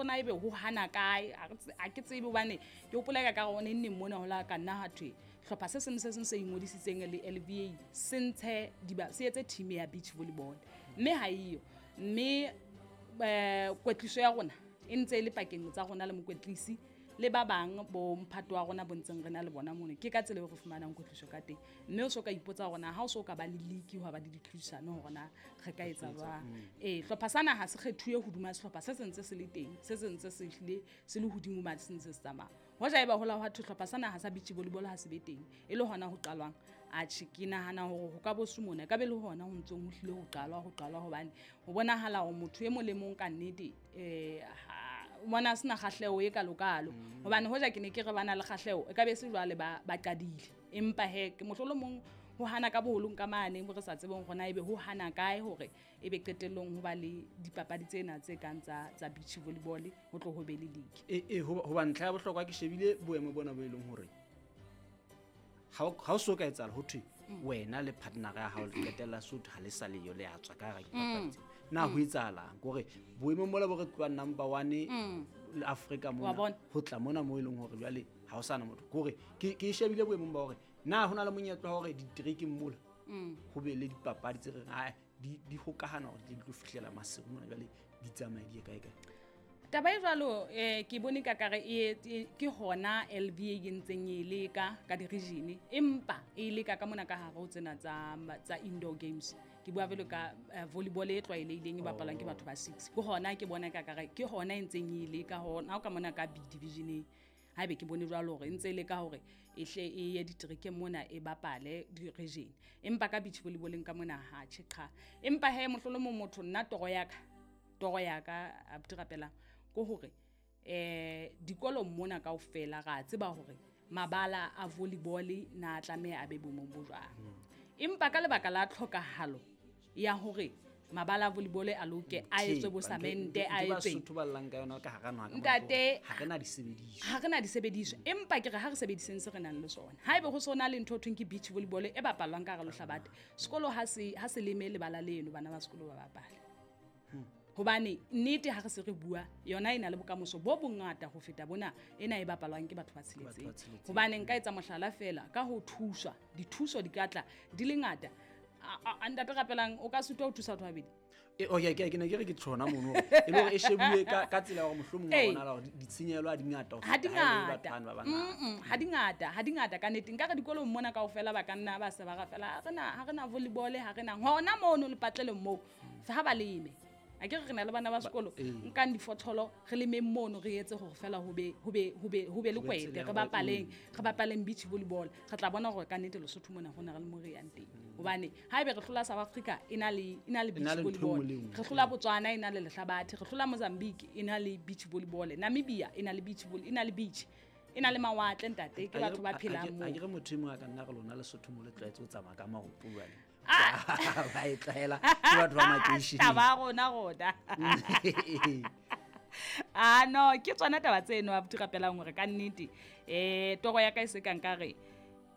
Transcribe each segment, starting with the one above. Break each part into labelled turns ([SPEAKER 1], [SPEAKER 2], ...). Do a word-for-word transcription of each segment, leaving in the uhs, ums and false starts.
[SPEAKER 1] na ebe ho hana kae, ha re tse- ha ke tsebe hobane ke hopola ka ka hore neng mona ho la ka nna ha thwe hlopha se seng le se seng se ingodisitseng le L V A se ntshe diba se etse team ya beach volleyball, mme ha eyo. Mme eh kwetliso ya rona e ntse e le pakeng tsa rona le mokwetlisi le ba bang bo mphato wa rona bo ntseng re na le bona mono. Ke ka tsela eo re fumanang kwetliso ka teng. Mme o so ka ipotsa hore na ha o so ka ba le league, hwa ba le ditlhodisano, hore na re ka etsa jwang. Ee, hlopha sa naha se kgethuwe hodima sehlopha se sentse se le teng, se sentse se hlile se le hodimo mane, se ntse se tsamaya. Hoja eba hola hwa thwe hlopha sa naha sa beach volleyball ha se be teng, e le hona ho qalwang, atjhe, ke nahana hore ho ka bo se mona, e ka be le hona ho ntsong ho hlile ho qalwa ho qalwa hobane ho bonahala hore motho e mong le mong ka nnete um o bona a sena kgahleho e kalokalo. Hobane hoja ke ne ke re ba na le kgahleho, e ka be se jwale ba ba qadile. Empa he, ke mohlolomong ho hana ka boholong ka mane mo re sa tsebeng hore na ebe ho hana kae hore ebe qetellong ho ba le dipapadi tsena tse kang tsa tsa beach volleyball, ho tlo ho be le league.
[SPEAKER 2] e e hoba hoba ntlha ya bohlokwa, ke shebile boemo bona bo e leng hore ha o ha o so ka etsahala ho thwe wena le partner ya hao le qetella sotho ha le sa leyo, le a tswa ka hara dipapadi tsena. Na ho etsahalang kore boemong mola bo re tloha number one le Africa
[SPEAKER 1] Wa
[SPEAKER 2] mona
[SPEAKER 1] bona?
[SPEAKER 2] ho tla mona mo e leng hore jwale ha o sana motho, kore ke ke e shebile boemong ba hore na ho na le monyetla wa hore diterekeng mola ho be le dipapadi tse reng ae di di hokahana hore di tlo fihlela Maseru mona, jwale di tsamaye di ye kae kae?
[SPEAKER 1] Taba e jwalo eh ke bone ka kare e e- ke hona L V A e ntseng e leka ka di-region, empa e leka ka mona ka hare ho tsena tsa tsa indoor games. Ke bua jwalo ka eh, volleyball e tlwaelehileng e bapalwang ke batho ba six. Ke hona ke bona ka kare ke hona e ntseng e leka hona ka mona ka B division-eng. Haebe ke bone jwalo hore e ntse e leka hore e hle e ye diterekeng mona, e bapale di-region, empa ka beach volleyballeng ka mona ha tjhe qha. Empa he, mohlolomong motho, nna toro ya ka toro ya ka abuti Rapelang, ke hore eh dikolong mona kaofela ra tseba hore mabala a volleyball na tlameha a be boemong bo jwang. Empa ka lebaka la tlhokahalo ya hore mabala a volleyball a loke, a etswe bo samente, a etswe
[SPEAKER 2] Basotho ba llang ka yona ka hara naha ka mona.
[SPEAKER 1] Ntate,
[SPEAKER 2] ha re na disebediswa.
[SPEAKER 1] Ha re na disebediswa, empa ke re ha re sebediseng se re nang le sona. Haebe ho sona le ntho ho thweng ke beach volleyball e bapalwang ka hara lehlabathe, sekolo ha se ha se leme lebala leno, bana ba sekolo ba bapale. Hobane nnete ha re se re bua yona, e na le bokamoso bo bongata ho feta bona ena e bapalwang ke batho ba tsheletseng.
[SPEAKER 2] Batho ba tsheletseng.
[SPEAKER 1] Hobane nka etsa mohlala feela ka ho thuswa, dithuso di ka tla di le ngata. A- a- a- ntate Rapelang, o ka sitwa ho thusa batho ba babedi.
[SPEAKER 2] E, okay, ke ke ne ke re ke tjhona mono hore e le hore e shebuwe ka ka tsela ya hore mohlomong wa
[SPEAKER 1] Ee.
[SPEAKER 2] bonahala hore di- ditshenyehelo ha di ngata ho
[SPEAKER 1] Ha di
[SPEAKER 2] feta ha e le batho
[SPEAKER 1] ngata.
[SPEAKER 2] bano ba bangata.
[SPEAKER 1] Mm-mm, ha di ngata, ha di ngata ka nnete. Nka re dikolong mona kaofela ba ka nna ba se ba ra fela ha re na ha re na volleyball, ha re na hona mono lepatlelong moo ha ba leme. A ke re re na le bana ba sekolo,
[SPEAKER 2] ee.
[SPEAKER 1] nkang difotholo, re lemeng mono, re etse hore fela ho be ho be ho be ho be le
[SPEAKER 2] Ho be
[SPEAKER 1] kwete,
[SPEAKER 2] tsela ya
[SPEAKER 1] re
[SPEAKER 2] hore-
[SPEAKER 1] bapaleng re bapaleng beach volleyball. Re tla bona hore ka nnete Lesotho mona ho na re le mo re yang teng. Hobane haebe re hlola South Africa e na le e na le
[SPEAKER 2] E na
[SPEAKER 1] beach
[SPEAKER 2] le ntho e
[SPEAKER 1] volleyball,
[SPEAKER 2] nngwe le e nngwe.
[SPEAKER 1] re hlola Botswana e na le lehlabathe, re hlola Mozambique e na le beach volleyball, Namibia e na le beach volley, e na le beach, e na le mawatle. Ntate, ke batho ba phelang
[SPEAKER 2] a
[SPEAKER 1] moo.
[SPEAKER 2] ke re motho e mong a ka nna re lona Lesotho mo le tlwaetse ho tsamaya ka maoto jwale,
[SPEAKER 1] Ah!
[SPEAKER 2] ba e tlwaela, ke batho ba makeisheneng.
[SPEAKER 1] Taba ya rona rona ah no, ke tsona taba tseno, abuti Rapelang, hore ka nnete um toro ya ka e se ka nka re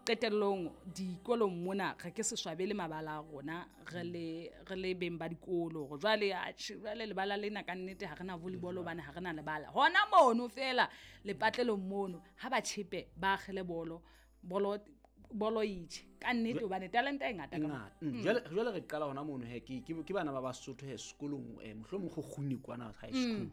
[SPEAKER 1] qetellong dikolong mona re ke se swabele mabala a rona re le re le beng ba dikolo, hore jwale, atjhe, jwale lebala lena ka nnete ha re na volleyball hobane ha re na lebala hona mono feela lepatlelong mono. Ha ba tjhepe, ba akgele bolo bolo bolo itjhe ka nnete, hobane talente e ngata
[SPEAKER 2] e
[SPEAKER 1] ka mona.
[SPEAKER 2] Ngata. Mm, jwale jwale re qala hona mono he, ke ke ke bana ba Basotho he sekolong, eh, mohlomong Kgokguni kwana high school,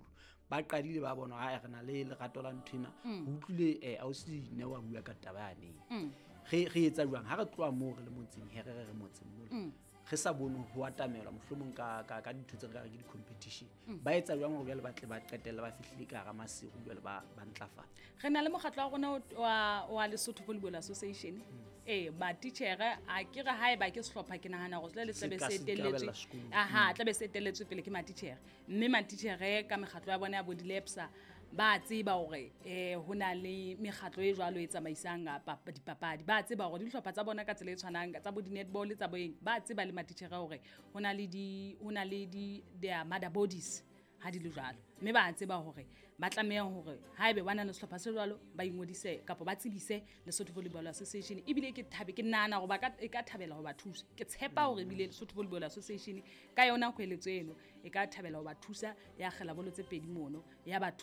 [SPEAKER 2] ba qadile ba bona ha re na le lerato la nthwena. Ho utlwile eh ausi ne wa bua ka taba yane. Re re etsa jwang ha re tloha moo re le motseng he, re re re motseng mola re sa bone ho atamelwa mohlomong ka ka ka dintho tse re ka re ke di-competition, ba etsa jwang hore jwale ba tle ba qetelle ba fihlile ka hara Maseru, jwale ba ba ntlafala?
[SPEAKER 1] Re na le mokgatlo wa rona o- wa wa Lesotho Volleyball Association. Ee, matitjhere a ke re haeba ke sehlopha, ke nahana hore le
[SPEAKER 2] Se
[SPEAKER 1] tlabe
[SPEAKER 2] ka
[SPEAKER 1] se
[SPEAKER 2] se
[SPEAKER 1] etelletswe
[SPEAKER 2] ikarabella sekolong.
[SPEAKER 1] Aha, tlabe se etelletswe pele ke matitjhere, mme matitjhere ka mekgatlo ya bona ya bo di-lepsa ba tseba hore um ho na le mekgatlo e jwalo e tsamaisang papa- dipapadi. Ba tseba hore dihlopha tsa bona ka tsela e tshwanang tsa bo di-netball, tsa boeng, ba tseba le matitjhere hore ho na le di ho na le di their mother bodies ha di le jwalo, mme ba tseba hore ba tlameha hore haebe ba na le sehlopha se jwalo, ba ingodise kapa ba tsebise Lesotho Volleyball Association. Ebile ke thabe, ke nahana hore ba ka e ka thabela ho ba thusa. Ke tshepa hore ebile Lesotho Volleyball Association ka yona kgweletso eno e ka thabela ho ba thusa, ya akgela bolo tse pedi mono, ya ba thusa.